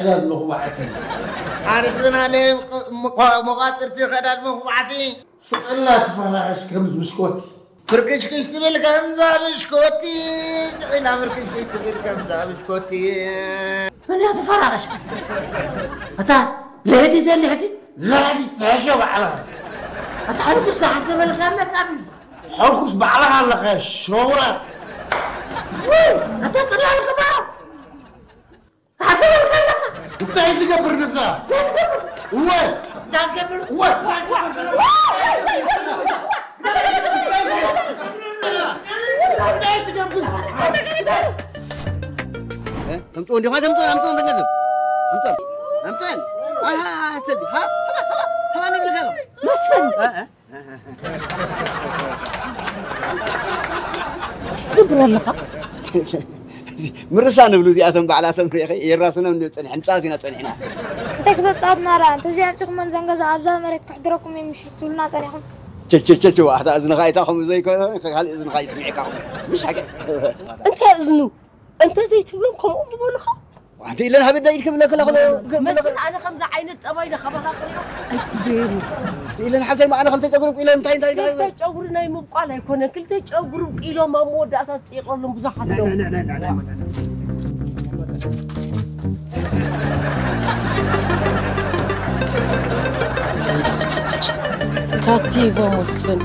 ዕዳድ መኹባዕቲ። ዓርስና ለየብቅዕ ምኳ-፣ መቋፅርቲ ከዳድ መኹባዕቲ። ስቕላ ትፈራኸሽ ከምዚ ብሽኮቲ። ፍርክሽክሽ ትብል ከምዛ ብሽኮቲ። ስቕላ ፍርክሽክሽ ትብል ከምዛ ብሽኮቲ። መን እያ ትፈራኸሽ? እታ ልሕቲት እያ ልሕቲት? ልሕቲት ትሕሾ ባዕላ። እታ ሕልኩስ ዝሓሰበልካ ኣለካ ምሳ። ሕልኩስ ባዕልኻ ኣለኻ ሸውራ። ውይ፣ እታ ጽላል ክባሮ። ሓሰበልካ ኣለካ። እንታይ ትገብር ንሳ? እንታይ ትገብር? እወ። እንታይ ትገብር? እወ። እንታይ ትገብር? እ? ተምጽኦ እንዲኻ ተምጽኦ፣ ኣምጽኦ እንተገዝም። ኣምጽኦ። ኣምጽኦ። ኣሃ፣ ሰዲ። ሃ፣ ሃባ፣ ሃባ፣ ሃባ ንብልካ ኣሎ። መስፍን። እ፣ እ። ትገብር ኣለኻ? ምርሳ ንብሉ እዚኣቶም ባዕላቶም ርኢኸ የራስኖም ንብል ጸኒሕ፣ ንጻወት ኢና ጸኒሕና። እንታይ ክተጻወትና ደኣ? እንተዘይ ኣምጺኹመን ዘን ገዛ ኣብዛ መሬት ከሕድረኩም እዮም ምሽ ትብሉና ጸኒሕኩም። ቸቸቸቸ፣ ዋሕታ እዝንኻ ኣይታ ከምኡ ዘይኮነ፣ ካልእ እዝንኻ ይስምዕካ ከምኡ። ምሽ ሓቂ። እንታይ እዝኑ? እንተዘይትብሎም ከምኡ ምበሉኻ? ኣንቲ ኢለን ሃበዳ ኢድ ክብለክ ለኽሎ፣ ክብለክ። መስፍን፣ ኣነ ከምዚ ዓይነት ጠባይ ዶ ካባኻ ክሪኦ ኣይጽበየን። ኣንቲ ኢለን ሓብተይ፣ ኣነ ከምተ ጨጉሪ ኢለን እንታይ፣ እንታይ፣ እንታይ? ክልተ ጨጉሪ ናይ ምብቋል ኣይኮነን። ክልተ ጨጉሪ ኢሎም ኣብ መወዳእታ ዝጽይቐሎም ብዙሓት ኣለዉ። ካቲቮ መስፍን።